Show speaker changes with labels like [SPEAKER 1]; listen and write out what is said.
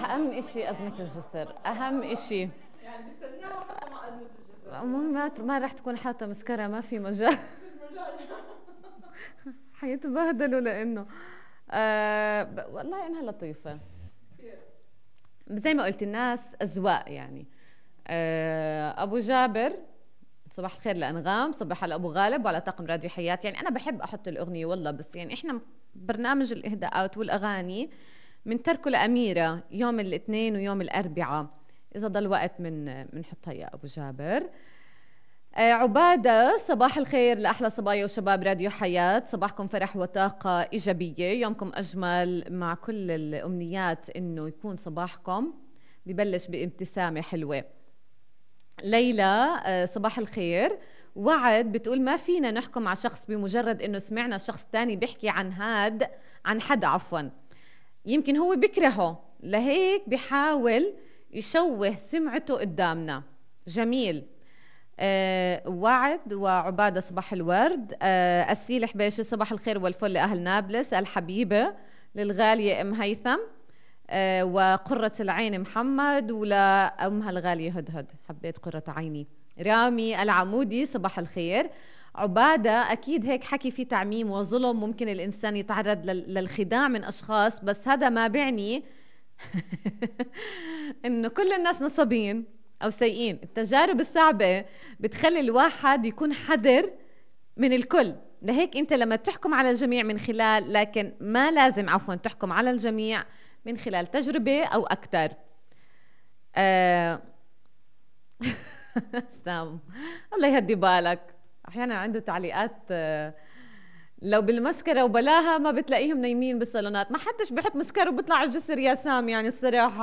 [SPEAKER 1] أهم إشي أزمة الجسر، أهم إشي.
[SPEAKER 2] يعني بستناها حتى مع أزمة الجسر.
[SPEAKER 1] ما رح تكون حاطة مسكرة، ما في مجال. حيتبهدلوا لأنه والله إنها لطيفة. زي ما قلت الناس أذواق يعني. أبو جابر صباح الخير لأنغام، صباح على أبو غالب وعلى طاقم راديو حياة. يعني أنا بحب أحط الأغنية والله، بس يعني إحنا برنامج الإهداءات والأغاني من تركه لأميرة يوم الاثنين ويوم الأربعاء، إذا ضل وقت من حطها يا أبو جابر. عبادة صباح الخير لأحلى صبايا وشباب راديو حياة، صباحكم فرح وطاقة إيجابية، يومكم أجمل مع كل الأمنيات إنه يكون صباحكم ببلش بابتسامة حلوة. ليلى صباح الخير. وعد بتقول ما فينا نحكم على شخص بمجرد إنه سمعنا شخص تاني بيحكي عن حدا عفوا، يمكن هو بكرهه لهيك بيحاول يشوه سمعته قدامنا. جميل. وعد وعبادة صباح الورد. أسيل حبيشي صباح الخير والفل لأهل نابلس الحبيبة، للغالية أم هيثم وقرة العين محمد، ولأمها الغالية هدهد حبيت قرة عيني. رامي العمودي صباح الخير. عبادة أكيد هيك حكي في تعميم وظلم، ممكن الإنسان يتعرض للخداع من أشخاص، بس هذا ما بعني إنه كل الناس نصابين أو سيئين. التجارب الصعبة بتخلي الواحد يكون حذر من الكل، لهيك أنت لما تحكم على الجميع من خلال، لكن ما لازم عفوا تحكم على الجميع من خلال تجربة أو أكتر. سام الله يهدي بالك، أحيانا عنده تعليقات لو بالمسكرة وبلاها ما بتلاقيهم نايمين بالصالونات. ما حدش بيحط مسكرة وبيطلع على الجسر يا سام، يعني الصراحة